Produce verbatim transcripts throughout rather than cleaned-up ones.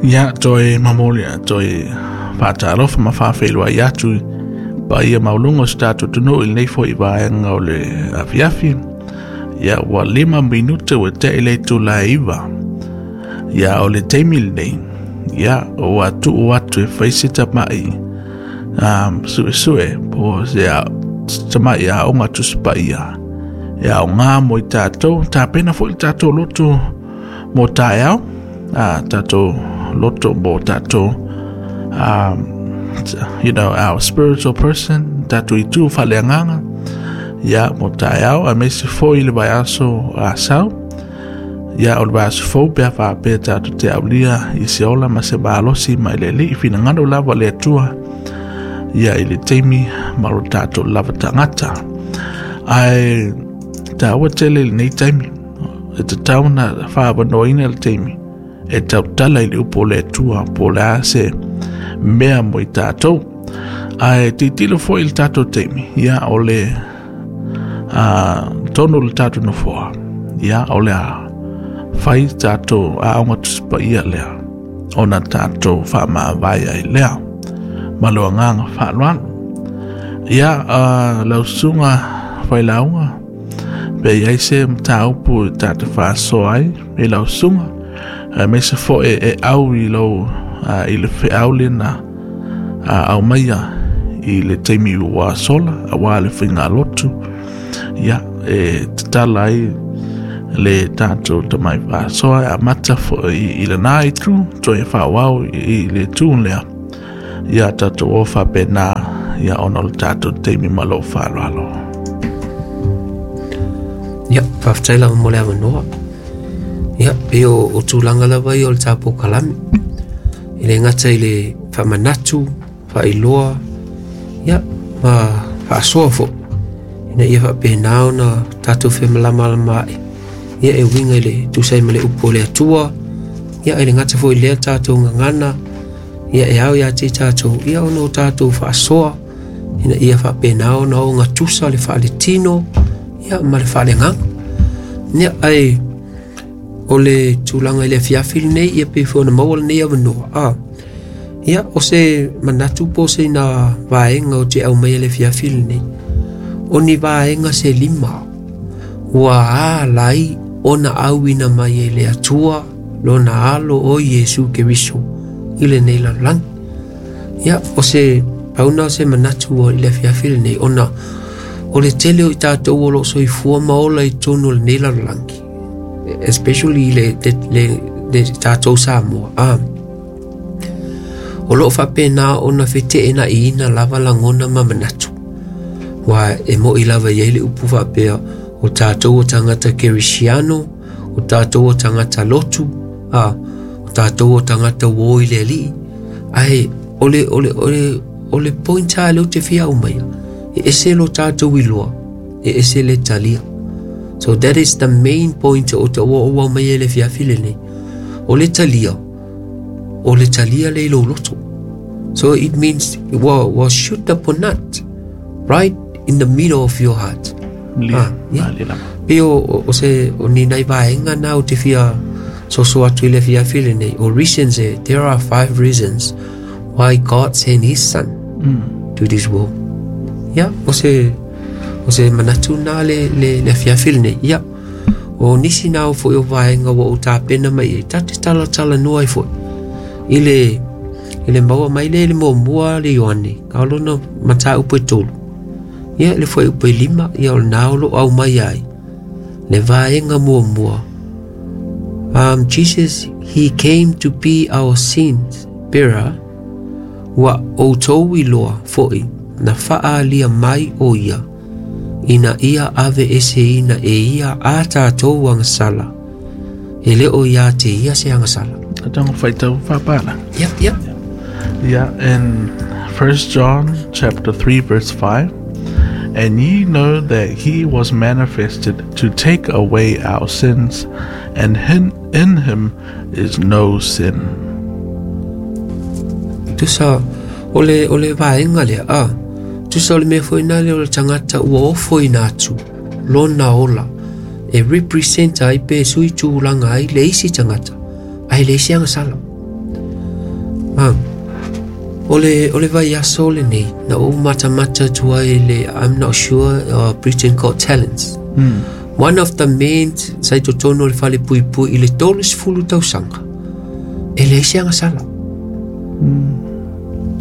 Ia toe mamoli a toe faatalofa ma faafeiloai atu i paia maualuga o si tatou atunuu i lenei fo'i vaega o le afiafi. Ia ua lima minute ua te'i le itula e iva. Ia o le taimi lenei, ia ua tuu atu e fai se tama'i um, su'esu'e po o se tama'i aoga Tusi Paia e aogā mo i tatou tapena fo'i le tatou loto mo taeao, a tatou loto mo tatou um, you know, our spiritual person, tatou itu faaleagaga, ia mo taeao aemaise foi le vaiaso Asau. Ia o le vaiaso fou pe a faapea tatou te aulia i se ola ma se malosi mai le Alii, finagalo lava le Atua ia i le taimi ma lo tatou lava tagata. Ae taua tele i lenei taimi e tatau ona faaavanoaina le taimi e tautala i le upu o le Atua po o le a se mea mo i tatou. Ae tilotilo foi i le tatou taimi, ia o le uh, tonu o le tatou nofoa, ia o le a fai tatou aoga Tusi Paia lea ona tatou faamavae ai lea ma le agaga faaaloalo. Ia uh, lau susuga failauga, pe i ai se mataupu e tatou faasoa ai i lau susuga, aemaise foi e au i lou uh, i le feau lena uh, aumaia i le taimi ua sola auā le faigalotu, ia e tatala ai le tatou tamai faasoa e amata foi i lena itu toe faaauau i le itu lea. Ia tatou o faapena, ia ona o le tatou taimi ma lou faaaloalo. Ia, faafetai lava mo le avanoa. Ia, pei o, o tulaga lava ia o le tatou kalame. E le gata i le faamanatu, faailoa, ia, ma faasoa foi. Ina ia faapena ona tatou femalamalama ai. Ia e uiga i le tusa ai ma le upu o le Atua. Ia e le gata foi i lea tatou gagana. Ia e ao ia te i tatou, ia ona o tatou faasoa. Ina ia faapena ona ogatusa le faaletino, ia ma le faaleagaga. Ia ae o le tulaga i le afiafi lenei, ia pei foi ona maua lenei avanoa. A, ia o se manatu po o se ina vaega o te aumaia le afiafi lenei. O ni vaega se lima ua ala ai ona auina mai e le Atua lona alo o Iesu Keriso i lenei lalolagi. Ia o se pauna o se manatu o i le afiafi lenei ona o le tele o i tatou o lo o soifua ma ola i totonu o lenei lalolagi, especially le, le, le, le tatou Samoa. Ah, o lo o faapena ona feteenaiina lava lagona ma manatu. Ua e mo'i lava i ai le upu faapea o tatou o tagata kerisiano, o tatou o tagata lotu, a, o tatou o tagata ua o i le Alii. Ae o le, o le, o le, o le point lava lea ou te fia aumaia, e ese lo tatou iloa, e ese le talia. So that is the main point o te ua ou aumaia i le afiafi lenei. O le talia, o le talia le i lou loto. So it means ua, ua shoot up or not, right in the middle of your heart. Lia, Ah, yeah. malie lava. Pei o, o, o se o ni nai vaega na o te fia soso atu i le afiafi lenei. O reasons e, there are five reasons why God sent his son Mm. to this world. Ia, o se o se manatu na le le le afiafi lenei. Ia, o nisi na o foi o vaega ua ou tapena mai ai, ta te talatalanoa ai foi. I le i le maua mai le le muamua le Ioane, ka lona mataupu e tolu. Ia, le fuaiupu e lima, ia o lena o lo aumai ai. Le vaega muamua. Um, Jesus, he came to be our sins bearer, ua outou iloa foi na faaalia mai o ia, ina ia aveeseina e ia a tatou agasala, e le o ia te ia se agasala. Tago faitau faapala. Ia, ia. Yeah, in First John chapter three verse five, and ye know that he was manifested to take away our sins, and in, in him is no sin. Tusa o le, o le vaega lea, a, tusa o le mea foi nā le o le tagata ua ofoina atu, lona ola, e represent ai pe sui tulaga ai le isi tagata, ae le isi agasala. Ah. O le, o le vaiaso lenei, na ou matamata atu ai le, I'm not sure, uh, Britain Got Talents. Mm. One of the men sa i totonu o le fale puipui i le tolu sefulu tausaga, e leai se agasala. Mm.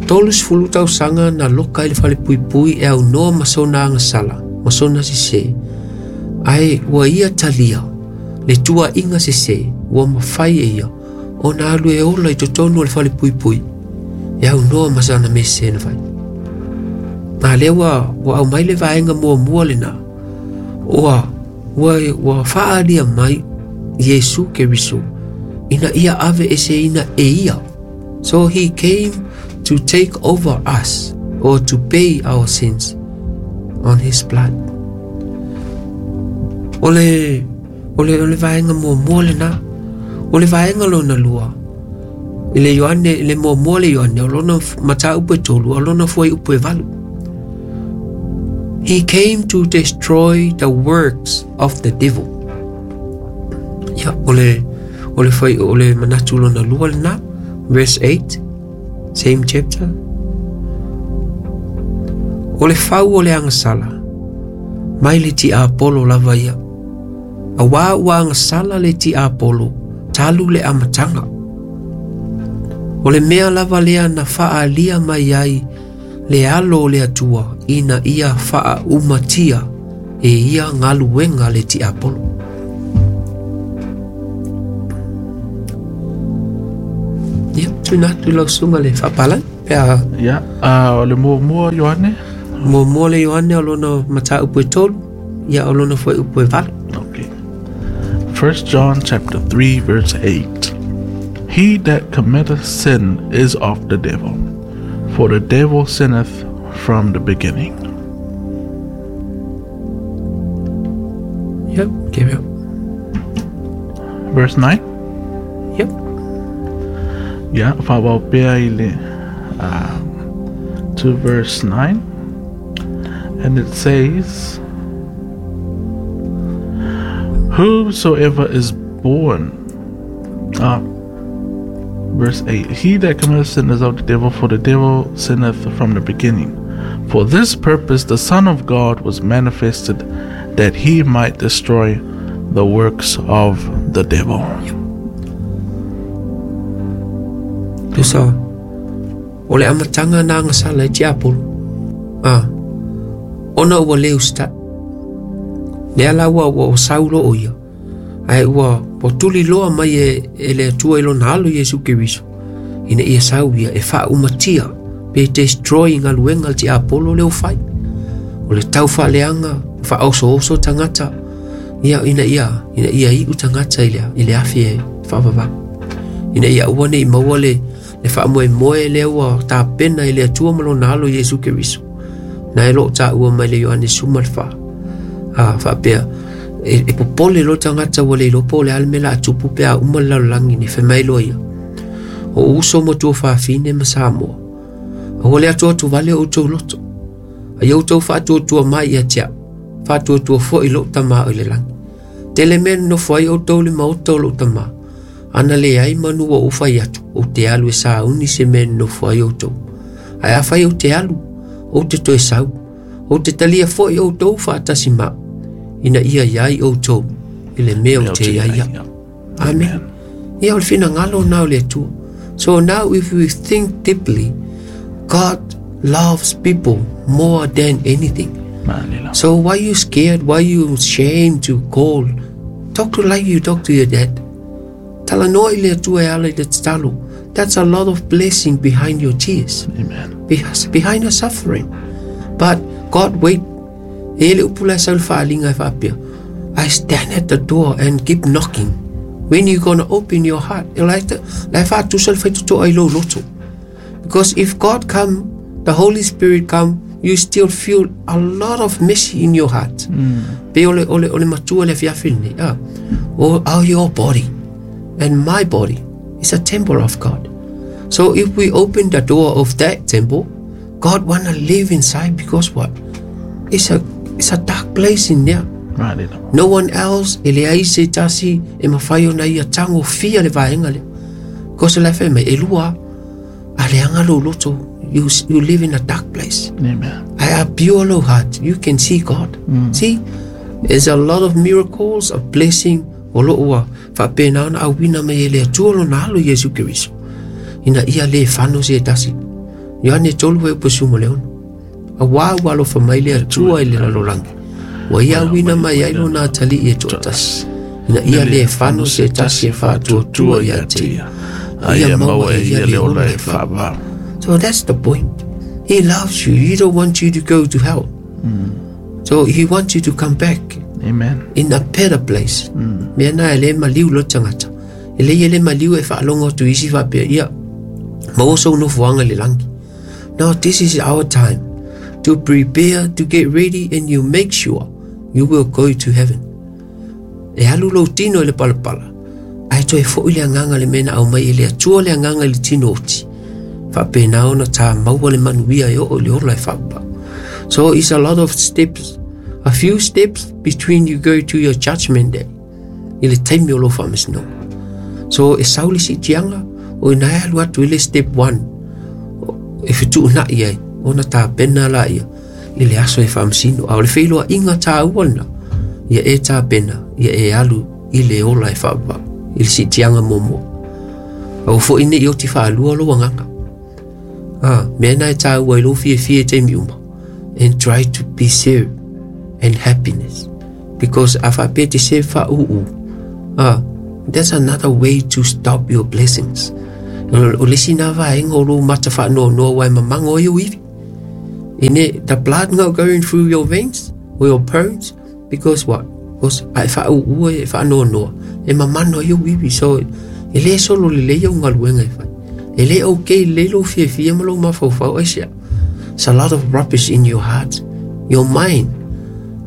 Tolu sefulu tausaga na loka i le fale puipui e aunoa ma sona agasala, ma sona sesē. Ae ua ia talia, le tuaʻiga sesē, ua mafai e ia, ona alu e ola i totonu o le fale puipui, e aunoa ma sana mea sesē na fai. A lea ua, ua aumai le vaega muamua lenā, ua, ua, ua faaalia mai Iesu Keriso, ina ia ave eseina e ia. So he came to take over us, or to pay our sins on his blood. O le, o le, o le vaega muamua lenā. O le vaega lona lua, i le Ioane, i le muamua le Ioane, o lona mataupu e tolu, o lona fuaiupu e valu. He came to destroy the works of the devil. Ia, o le, o le fai, o le manatu lona lua lenā, verse eight, same chapter. O le fau o le agasala, mai le tiapolo lava ia. Auā ua agasala le tiapolo, talu le amataga. O le mea lava lea na faaalia mai ai le alo o le Atua ina ia faaumatia e ia galuega le tiapolo. Ia, tuuina atu lau susuga le faapalagi pe a. Ia, uh, o le muamua Ioane? Muamua le Ioane o lona mataupu e tolu, ia o lona fuaiupu e valu. Okay. First John chapter three verse eight. He that committeth sin is of the devil, for the devil sinneth from the beginning. Yep, carry on. Verse nine? Yep. Yeah, faaauau pea i le, um, to verse nine. And it says, whosoever is born, uh, verse eight, he that committeth sin is of the devil, for the devil sinneth from the beginning. For this purpose the Son of God was manifested, that he might destroy the works of the devil. Tusa, o le amataga na agasala e tiapolo. Ah, ona ua le usitaʻi. Lea la ua ua sau loo ia. Ae ua ua tuliloa mai e, e le Atua i lona alo Iesu Keriso. Ina ia sau ia e faaumatia pe destroy galuega le tiapolo lea ua fai. O le tau faaleaga, faaosooso tagata. Ia ina ia ina ia iʻu tagata i le i le afi e faavavau. Ina ia aua nei maua le le faamoemoe lea ua tapena i le Atua ma lona alo Iesu Keriso. Na e loo taua mai le Ioane suma le fa. Ah, faapea e, e popole lo tagata ua le iloa po o le a le mea la atupu pe a uma le lalolagi nei fai mai loa ia. O uso ma tuafafine ma Samoa. Aua le atuatuvale o outou loto. Ai outou faatuatua mai ia te au. Faatuatua foʻi lou tamā i le lagi. Tele mea nonofo ai outou le maota o lou tamā. Ana leai manu ua ou fai atu, ou te alu e sauni se mea nonofo ai outou. Ae afai ou te alu, ou te toe sau. Ou te talia foʻi outou faatasi ma au, ina ia iai outou i le mea ou te iai au. Amen. Ia o le finagalo na o le Atua. So now if we think deeply, God loves people more than anything. So why you scared? Why you ashamed to call? Talk to like you talk to your dad. Talanoa i le Atua e ala i le tatalo. That's a lot of blessing behind your tears. Amen. Behind your suffering. But God wait. E le upu la sau le faaliga e faapea. I stand at the door and keep knocking. When you gonna open your heart? E la e faatusa le faitotoa i lou loto. Because if God come, the Holy Spirit come, you still feel a lot of mess in your heart. Mm. Pe o le, o le, o le matua le afiafi lenei. Ah, o, oh, your body and my body is a temple of God. So if we open the door of that temple, God wanna live inside because what? It's a, it's a dark place in there. Right. No one else, e leai se tasi e mafai ona ia tagofia le vaega lea. Because le fai mai, e lua. A leaga lou loto, you, you live in a dark place. Amen. Ae a pure lou heart, you can see God. Mm. See, there's a lot of miracles, of blessing, o loo ua faapena ona auina mai e le Atua lona alo Iesu Keriso. Ina ia le fano se tasi. Ioane tolu fuaiupu sefulu ma le ono. Auā ua alofa mai le Atua i le lalolagi. Ua ia auina mai ai lona atalii e toatasi. Ina ia le fano se tasi e faatuatua ia te ia. A ia maua e ia le ola e faavavau. So that's the point. He loves you. He don't want you to go to hell. Mm. So he wants you to come back. Amen. In a better place. Mm. Mea na e le maliu lo tagata. E le ia le maliu e faalogo atu isi faapea ia maua sou nofoaga i le lagi. No, this is our time to prepare, to get ready, and you make sure you will go to heaven. E alu lou tino i le palapala, ae toe foʻi le agaga le mea na aumai e le Atua le agaga i le tino oti. Faapena ona tā maua le manuia e oo i le ola e faapau. So it's a lot of steps, a few steps between you go to your judgment day, i le taimi o lou faamasinoga. So e sau le siitiaga, o ina e alu atu i le step one, e fetuunai ai, ona tapena laia i le aso e faamasino. A o le feiloaiga tāua lena, ia e tapena, ia e alu i le ola e faavavau, i le siitiaga muamua. Aua foʻi nei oti faalua lou agaga. Ah, mea na e tāua i lou fiafia i taimi uma. And try to be served and happiness. Because a faapea te serve faauu, ah, that's another way to stop your blessings. O le isi na vaega o lou mata faanoanoa ua e mamago ai ou ivi. Ine, the blood not going through your veins or your bones, because what? Because a e faauu e faanoanoa, e mamano ai ou ivi. So, e le solo lelei au galuega e fai. E le okay lelei lou fiafia ma lou mafaufau aisea. It's a lot of rubbish in your heart, your mind.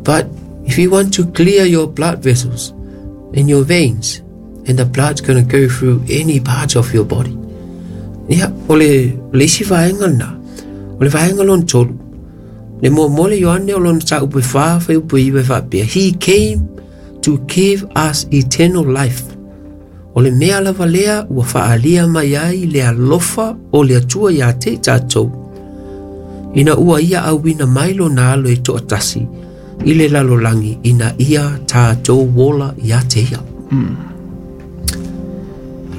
But if you want to clear your blood vessels and your veins, and the blood's gonna go through any parts of your body. Ia, o le, le isi vaega lena, o le vaega lona tolu. Le muamua le Ioane o lona mataupu e fa, fuaiupu e iva e faapea, He came to give us eternal life. O le mea lava lea ua faaalia mai ai le alofa o le Atua iā te i tatou. Ina ua ia auina mai lona alo e toatasi i le lalolagi ina ia tatou ola ia te ia. Mm.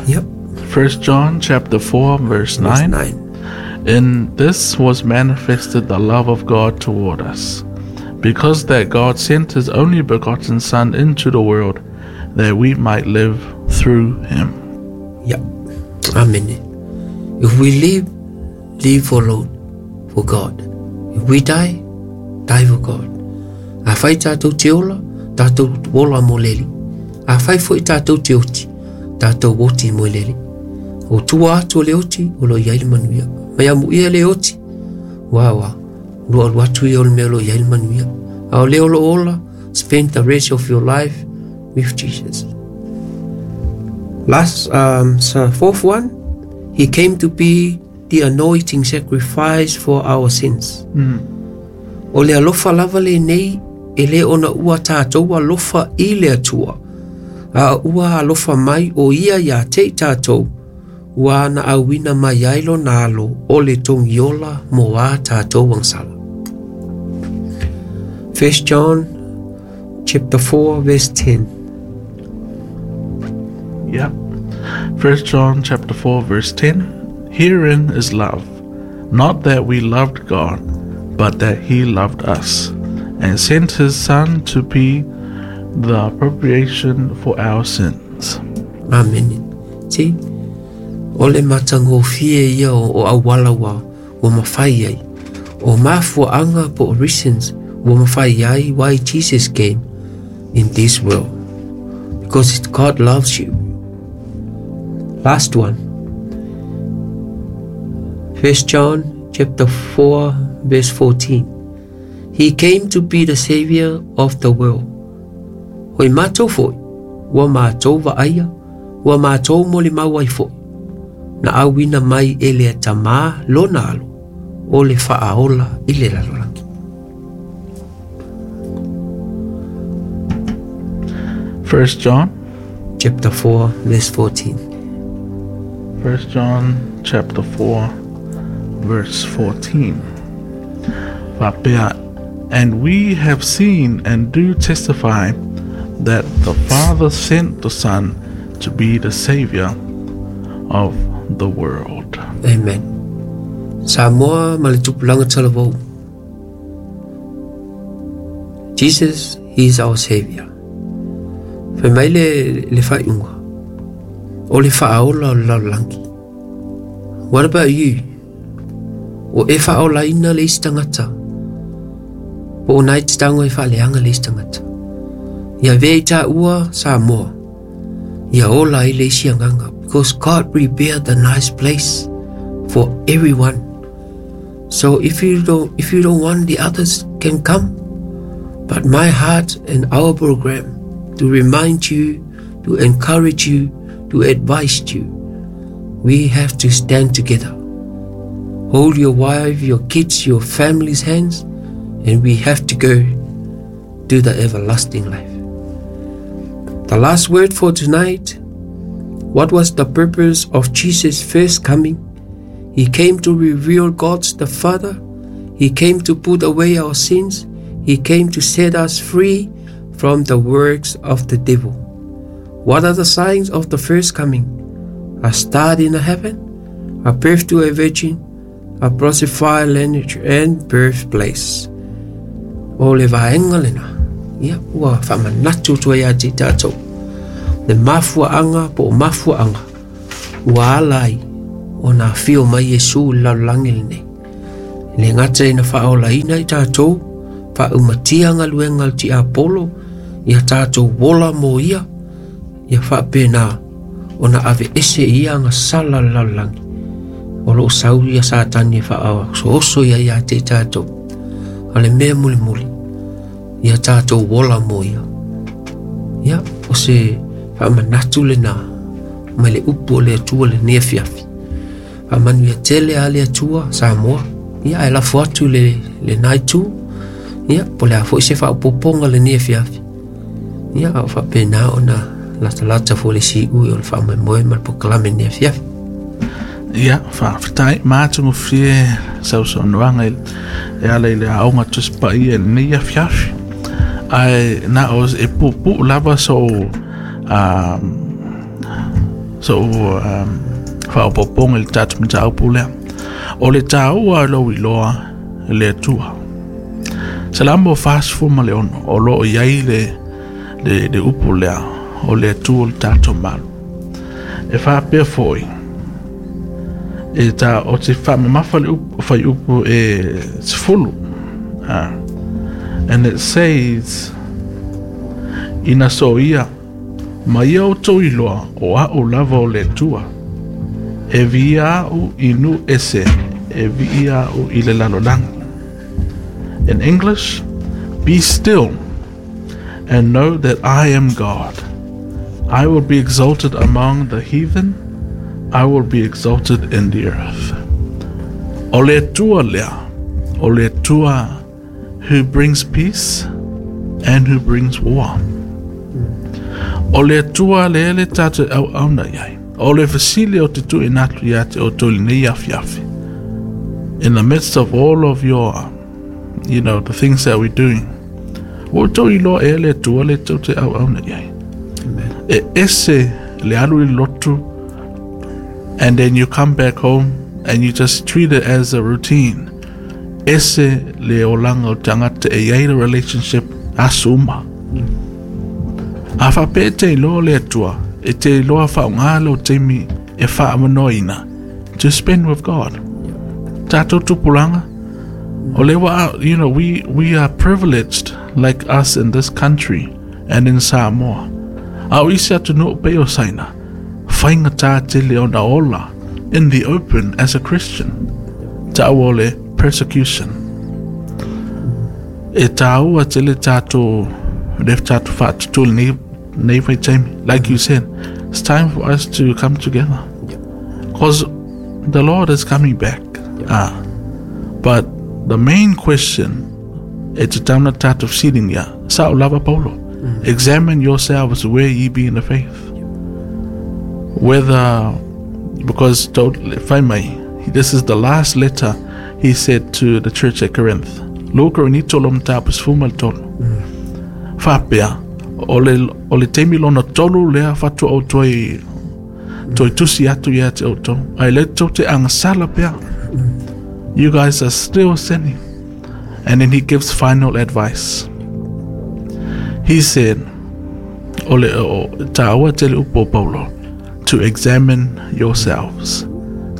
Yep. First John chapter four verse nine. Verse nine. In this was manifested the love of God toward us, because that God sent his only begotten Son into the world, that we might live through him. Yep. Amen. If we live, live for Lord, for God. If we die, die for God. Afai tatou te ola, tatou ola mo le Alii. Afai foʻi tatou te oti, tatou oti mo le Alii. O tua atu o le oti, o lo i ai le manuia. Mai amuia le oti, ua ua, lua alu atu ia o le mea o lo i ai le manuia. A o le o lo ola, spend the rest of your life with Jesus. Last, um, so fourth one, he came to be the anointing sacrifice for our sins. Mm. O le alofa lava lenei, e le ona ua tatou alofa i le Atua. A ua alofa mai o ia ia te i tatou, ua ana auina mai ai lona alo o le togiola mo a tatou agasala. First John chapter four verse ten. Yep. First John chapter four verse ten. Herein is love, not that we loved God, but that he loved us, and sent his Son to be the appropriation for our sins. Amen. See, o le matagofie ia o, o auala ua, ua mafai ai. O mafuaanga po o reasons ua mafai ai why Jesus came in this world. Because God loves you. Last one. First John chapter four verse fourteen. He came to be the savior of the world. Hoi mātou foi, ua mātou vaaia, ua mātou mo le mau ai foi. Na auina mai e le Tamā lona alo, o le faaola i le lalolagi. First John chapter four verse fourteen. First John chapter four verse fourteen. Faapea, and we have seen and do testify that the Father sent the Son to be the Savior of the world. Amen. Samoa ma le tupulaga talavou. Jesus, he is our Savior. Fai mai le, le faaiuga o le faaola o le lalolagi. What about you? O e faaolaina le isi tagata po o nai te tago e faaleaga le isi tagata. Ia avea i taua Samoa ia ola ai le isi agaga, because God prepared the nice place for everyone. So if you don't, if you don't want, the others can come. But my heart and our program to remind you, to encourage you, to advise you, we have to stand together. Hold your wife, your kids, your family's hands, and we have to go to the everlasting life. The last word for tonight, what was the purpose of Jesus' first coming? He came to reveal God the Father. He came to put away our sins. He came to set us free from the works of the devil. What are the signs of the first coming? A star in the heaven, a birth to a virgin, a prophesied lineage and birthplace. O le vaega lena, ia ua faamanatu atu ai ia te tatou le mafuaaga po o mafuaaga ua ala ai ona afio mai Iesu i le lalolagi lenei. E le gata ina faaolaina i tatou, faaumatia galuega a le tiapolo, ia tatou ola mo ia, ia faapena ona aveese i ia agasala le lalolagi o loo sau ia Satani e faaosooso ia ia te i tatou. A le mea mulimuli, ia tatou ola mo ia. Ia, o se faamanatu lena mai le upu o le Atua lenei afiafi. Faamanuia tele a le Atua Samoa. Ia, ae lafo atu le, lena itu. Ia, po o le a foi se faaopoopoga lenei afiafi. Ia, a o faapena ona latalata foi le siui o le faamoemoe ma le polokalame lenei afiafi. Ia, faafetai matagofie sausaunoaga e ala i le aoga Tusi Paia i lenei afiafi. Ae na o e puupuu lava so um, so um, faaopoopoga i le tatou mataupu lea. O le taua o lou iloa le Atua. Salamo fasefulu ma le ono, o loo i ai le, le, le upu lea, o le Atua o le tatou malu. E faapea foi, e ta o te faamamafa le upu, fuaiupu e sefulu. Ah. And it says, ina soia, ma ia outou iloa o a'u lava o le Atua. E viia a'u i nuu ese, e viia a'u i le lalolagi. In English, be still and know that I am God. I will be exalted among the heathen. I will be exalted in the earth. O le Atua lea, o le Atua who brings peace and who brings war. O le Atua le le tatou auauna i ai. O le fesili ou te tuuina atu ia te outou lenei afiafi. In the midst of all of your, you know, the things that we're doing, ua outou iloa ea le Atua le tou te auauna i ai. E ese le alu i lotu, and then you come back home and you just treat it as a routine. Ese le olaga o tagata e iai le relationship aso uma. A faapea e te iloa le Atua, e te iloa faaaoga lou taimi e faamanoaina to spend with God. Tatou tupulaga, o le wa, you know, we, we are privileged like us in this country and in Samoa. A o isi atunuu pei o Saina, faigata tele ona ola in the open as a Christian. Taua o le persecution. E taua tele tatou le tatou faatutu lenei nei vaitaimi. Like you said, it's time for us to come together. Because the Lord is coming back. Ah, but the main question, e tatau ona tatou fesiligia, sao lava Paulo. Examine yourselves where ye be in the faith. Whether, because Because fai mai, this is the last letter he said to the church at Corinth. Lua Korinito lo mataupu sefulu ma le tolu. Faapea, o le, o le taimi lona tolu lea faatoa ou toe toe tusi atu ia te outou. Ae lea tou te agasala pea. You guys are still sinning. And then he gives final advice. He said, o le o tāua tele upu o Paulo, to examine yourselves.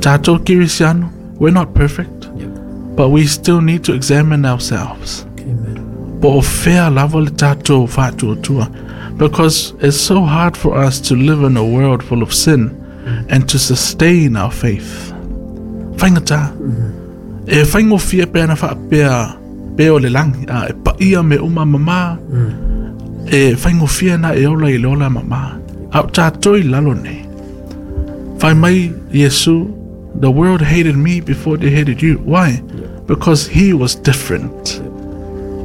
Tātou Kirisiano, we're not perfect, Yep. but we still need to examine ourselves. Amen. Po o fea lava le tātou faatuatua. Because it's so hard for us to live in a world full of sin and to sustain our faith. Faigata. E faigofie pe ana faapea pe o le lagi, a, e paia mea uma mamā. E faigofie na e ola i le ola mamā. A o tātou i lalo nei. Fai mai Iesu, the world hated me before they hated you. Why? Because he was different.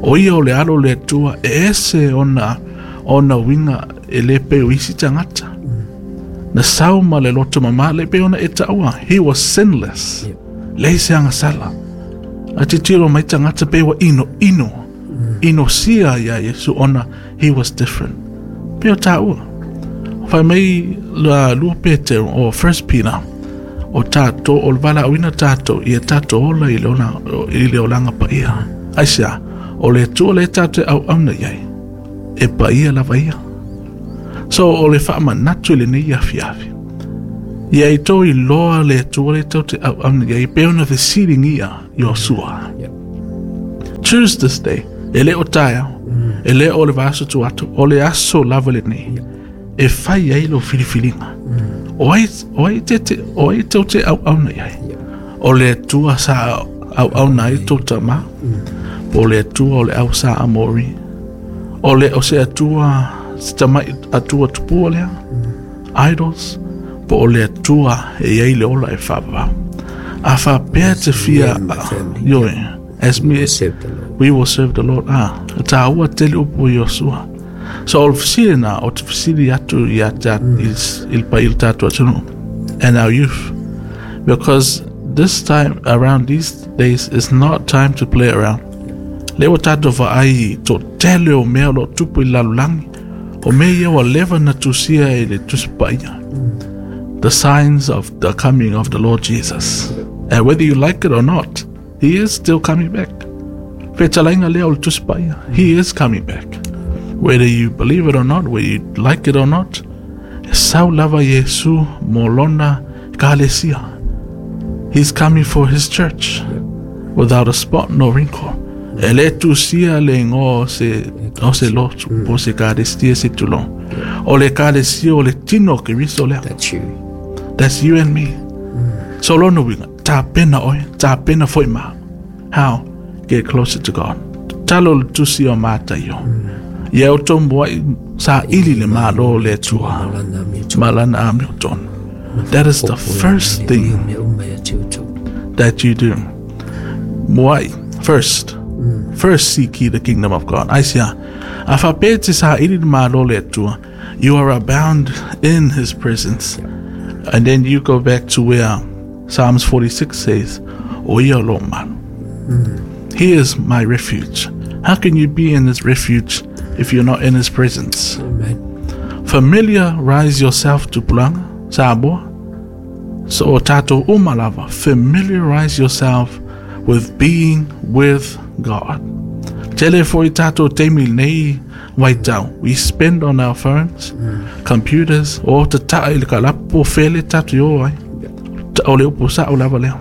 O ia o le alo le Atua, e ese ona, ona uiga e le pei o isi tagata. Na sau ma le loto mamā, le pei ona e taua. He was sinless. Yep. Leai se agasala. A titiro mai tagata pe ua ino, ino. Ino sia ia Iesu ona he was different. Pe o tāua. Fai mai la lua Petero, o First Peter, o tātou, o le valaauina tātou, ia tātou ola i le ola, i le olaga paia. Aisea, o le Atua le tātou e auauna i ai, e paia lava ia. So, o le faamanatu i lenei afiafi. Ia i tō iloa le Atua le tou te auauna i ai, pe ona fesiligia Iosua. Yep. Choose this day. E le o taeao. E le o le vaiaso atu atu. O le aso lava lenei. E fai ai lo filifiliga. O ai, o ai te, te, o ai tou te auauna i ai. Yep. O le Atua sa auauna ai tou tamā. Po o le Atua o le au Sa Amori. O le o se Atua, se tamai Atua tupua lea. Idols. Po o le Atua e i ai le ola e faavavau. A faapea te fia... and my family. Ioe. As me, We serve the Lord. we will serve the Lord. Ah, tāua tele upu i Iosua. So o le fesili na, o te fesili atu ia te i i le pa i le tātou atunuu. And our youth. Because this time around these days is not time to play around. Le ua tātou vaai to tele o mea o lo tupu i lalolagi. O mea ia ua leva na tusia e le Tusi Paia. The signs of the coming of the Lord Jesus. And whether you like it or not, he is still coming back. Fetalaiga lea o le Tusi Paia. He is coming back. Whether you believe it or not, whether you like it or not, e sau lava Iesu mo lona ekalesia. He's coming for his church without a spot nor wrinkle. E le tusia le igoa o se, o se lotu, po se ekalesia se tulou. O le ekalesia o le tino o Keriso lea. That's you. That's you and me. So lona uiga, tapena oe, tapena foi ma. How? Get closer to God. Talo le tusi o Mataio. Ia outou muai saili le malo o le Atua. Malana mi Ma lana amiotonu. That is the first thing mea uma ia te outou. that you do. Muai, first. First seek ye the kingdom of God. Aisea, a faapea e te saili le malo o le Atua, you are abound in his presence. And then you go back to where Psalms forty-six says, O ia lou malu. He is my refuge. How can you be in his refuge if you're not in his presence? Amen. Familiarize yourself to pulanga, Samoa. So o tātou uma lava, familiarize yourself with being with God. Tele foi tātou taimi nei vaitau. We spend on our phones, computers, o te taa i le kalapu o fele tātou i o ai. Ta- O le upu sa o lava lea.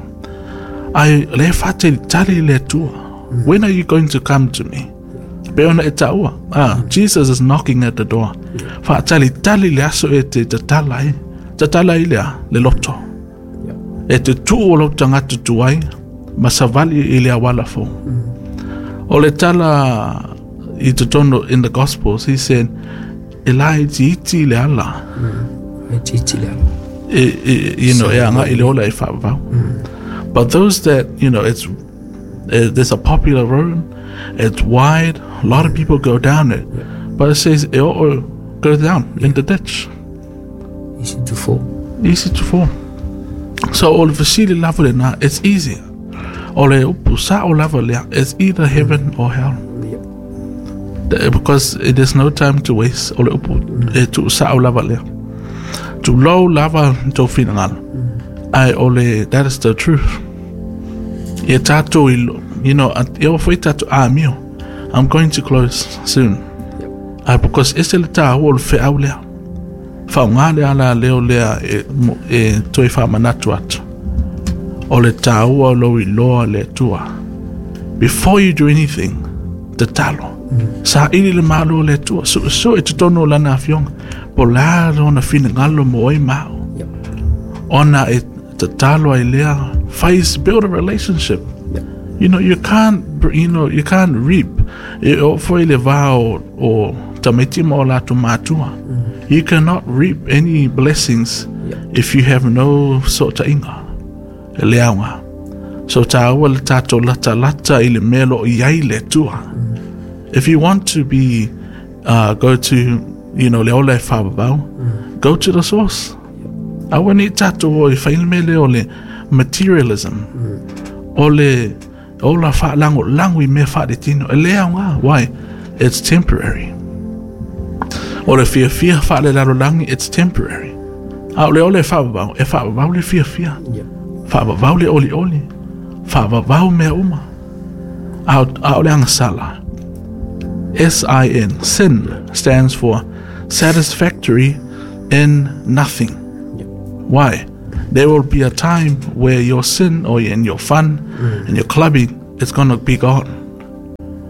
Ai le faatalitali le Atua. When are you going to come to me? Pe ona e taua. Ah, Jesus is knocking at the door. Faatalitali le aso e te tatala ai. Tatala i lea, le loto. E te tuu o lou tagata tuai, ma savali i le auala fou. O le tala i totonu in the Gospels, he said, e laitiiti le ala. E titi le ala. E, e, you know, e agaʻi i le ola e faavavau. But those that, you know, it's uh, there's a popular road, it's wide, a lot of people go down it. But it says, e oo, go down in the ditch. Easy to fall. Easy to fall. So o le fesili lava lena, it's easy. O le upu sa'o lava lea, it's either heaven or hell. Yeah. Because there's no time to waste. O le upu e tu'usa'o lava lea. Tulou lava tou finagalo. Ae o le, that is the truth. Ia tatou i, you know, e oo foi tatou amio. I'm going to close soon. Yep. Uh, because ese le tāua o le feau lea. Faaaogā le alaleo lea e, e toe faamanatu atu. O le tāua o lou iloa le Atua. Before you do anything, tatalo. Mm. Saili le malo o le Atua. Suesue totonu o lana afioga. Po o le a lona finagalo mo oe ma a'u. Yep. Ona e tatalo ai lea. Face, build a relationship. Yep. You know, you can't, you know, you can't reap. E oo foi le va o, o tamaiti ma o latou matua. Mm. You cannot reap any blessings Yep. if you have no fesootaiga. E le aoga. So tāua le tatou latalata i le mea o lo o i ai le Atua. If you want to be, uh, go to, you know, le ola e faavavau, go to the source. Aua ne i tatou o e fai le mea lea o le materialism. O le ola faalagolago i mea faaletino. E le aoga. Why? It's temporary. O le fiafia faalelalolagi, it's temporary. A o le ola e faavavau, e faavavau le fiafia. Yep. Faavavau le olioli. Faavavau mea uma. A o, a o le agasala. S I N, sin, stands for satisfactory in nothing. Yep. Why? There will be a time where your sin or in your fun Mm. and your clubbing is gonna be gone.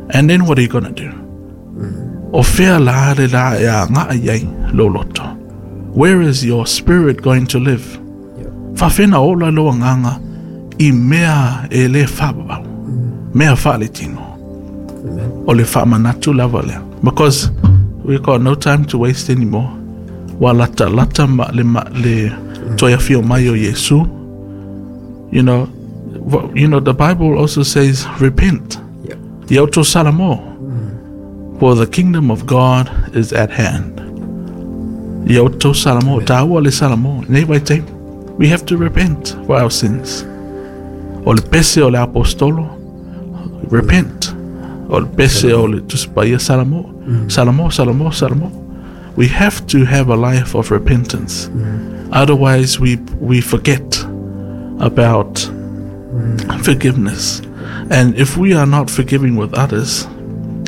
And then what are you gonna do? Mm. O fea la le la e aga'i ai lou loto. Where is your spirit going to live? Yep. Faafefea ona ola lou agaga i mea e le faavavau. Mea faaletino. Amen. O le faamanatu lava lea. Because we got no time to waste anymore. Ua latalata ma le, ma, le toe afio mai o Iesu. You know, wha- you know, the Bible also says, repent. Yep. Ia outou salamo. For the kingdom of God is at hand. Ia outou salamo. Tāua le salamo. Nei vaitaimi. We have to repent for our sins. O le pese o le aposetolo. Repent. O le pese o le Tusi Paia Salamo. Salamo, Salamo, Salamo. We have to have a life of repentance. Otherwise, we, we forget about forgiveness. And if we are not forgiving with others,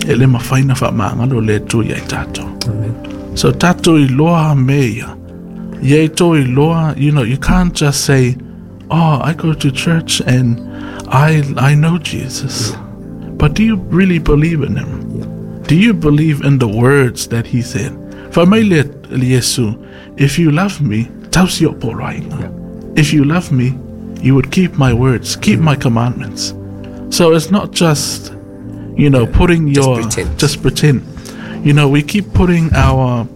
e le mafai ona faamagalo le Atua ia i tatou. Amen. So tatou iloa mea ia. Ia outou iloa, you know, you can't just say, oh, I go to church and I, I know Jesus. But do you really believe in him? Yeah. Do you believe in the words that he said? Fai mai le Iesu, if you love me, tausi o'u poloaiga. Yeah. If you love me, you would keep my words, keep my commandments. So it's not just, you know, putting Just your pretend. just pretend. You know, we keep putting our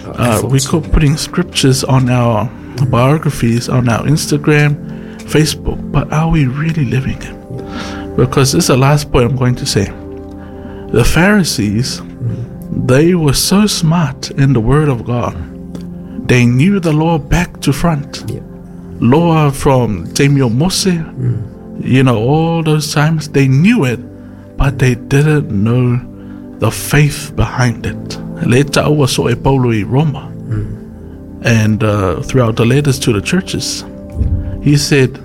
uh, we efforts. keep putting scriptures on our biographies, on our Instagram, Facebook, but are we really living it? Because this is the last point I'm going to say. The Pharisees, they were so smart in the Word of God. They knew the law back to front. Yeah. Law from taimi o Mose, you know, all those times, they knew it, but they didn't know the faith behind it. Le ta'ua so e Paulo i Roma. And uh, throughout the letters to the churches, he said,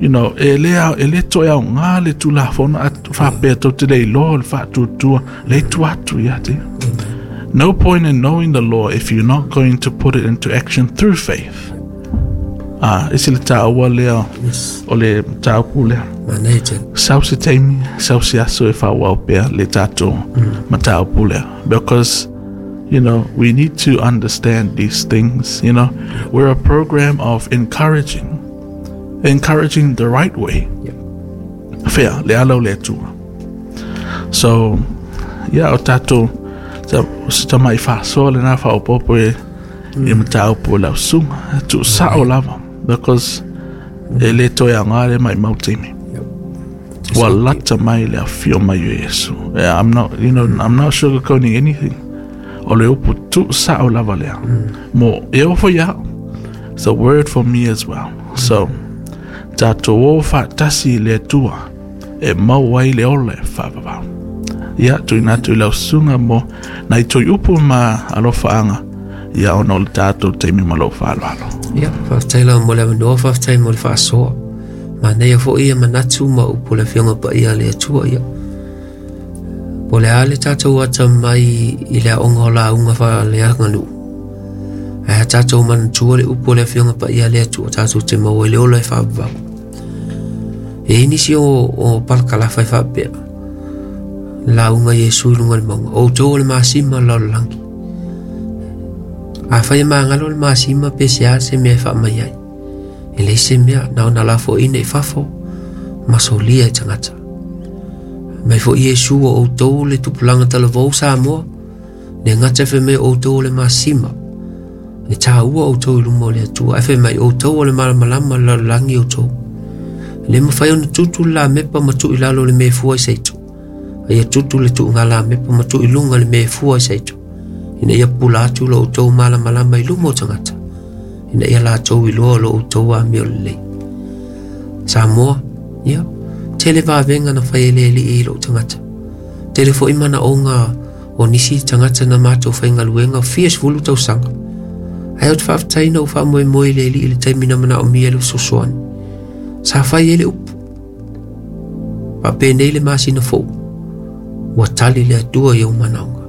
you know, e le au- e le toe aoga le tulafono a faapea tou te le iloa le faatuatua le tu atu ia te. No point in knowing the law if you're not going to put it into action through faith. Ah, ese le tāua lea Yes. o le mataupu lea. Manaia tele. Sau se taimi, sau se aso e faaauau pea le tatou mataupu lea. Because, you know, we need to understand these things, you know. We're a program of encouraging, encouraging the right way. Yeah. Fea, le ala o le Atua. So, yeah, o tatou, sa se tama'i faasoa lenā faaopoopo e i mataupu o lau susuga, tuusa'o lava, because e le toe aoga le maumau taimi. Yep. Ua lata mai le afio mai o Iesu. Yeah, I'm not, you know, I'm not sugarcoating anything. O le upu tuusa'o lava lea. Mo e oo foi ia a'u. It's a word for me as well. So, Tatou o faatasi i le Atua e maua ai le ola e faavavau. Ia, tuuina atu i lau susuga mo nai toe upu ma alofaaga, ia ona o le tatou taimi ma lou faaaloalo. Ia, faafetai lava mo le avanoa, faafetai mo le faasoa. Manaia foi ia manatu ma upu o le Afioga Paia a le Atua ia. Po o le a le tatou atamai i le aoga o lauga faaleaganuu. Ae a tatou manatua le upu o le Afioga Paia a le Atua, tatou te maua ai le ola e faavavau. E i ai nisi o, o palakalafa e faapea, lauga Iesu i luga o le mauga, o outou o le masima o le lalolagi. Afai e magalo le masima pe se a se mea e faamai ai. E leai se mea, na ona lafoaiina i fafo ma solia e tagata. Mai foi Iesu o outou le tupulaga talavou Samoa, le gata e fai mai o outou o le masima, e taua outou i luma o le Atua, ae fai mai outou o le malamalama o le lalolagi outou. E le mafai ona tutu le lamepa ma tuu i lalo o le mea e fua i seito. A ia tutu le tuuga lamepa ma tuu i luga le mea e fua i seito. Ina ia pula atu lo outou malamalama i luma o tagata. Ina ia latou iloa lo outou amio lelei. Samoa, ia, tele vavega na fai e le Alii i lou tagata. Tele foi manaoga o nisi tagata na matou faigaluega fia sefulu tausaga. Ae ou te faafetai na ou faamoemoe i le Alii i le taimi na manaomia le fesoasoani. Sa fai ai le upu. Faapenei le masina fou. Ua tali le Atua i ou manaoga.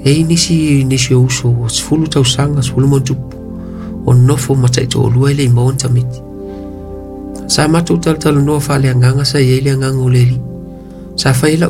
E i ai nisi nisi o uso ua sefulu tausaga, sefulu ma tupu, o nofo ma taitoalua e le i maua ni tamaiti. Sa matou talatalanoa faaleagaga sa i ai le agaga o le Alii. Sa fai ai lau